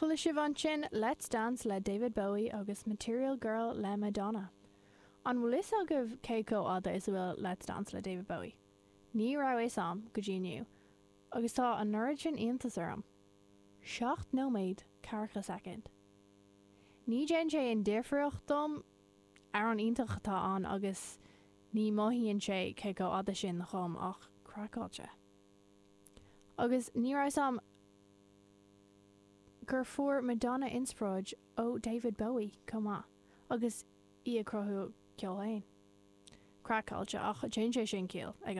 Chuala sibh ansin Let's Dance le David Bowie agus Material Girl le Madonna. An bhfuil fhios agaibh cé chomh fhada is a bhfuil Let's Dance le David Bowie? Ní raibh fhios a'm go dtí inniu, agus tá an oiread sin iontas orm. 7 nóiméad 40 soicind. Ní déanann sé aon difríocht dom, amhrán iontach atá ann agus ní mothaíonn sé cé chomh fhada sin dhom ach craiceáilte. Agus ní raibh fhios a'm gur fuair Madonna inspioráid ó David Bowie chomh maith agus í ag cruthú a ceol féin. Craiceáilte, ach déanann sé sin ciall ag an.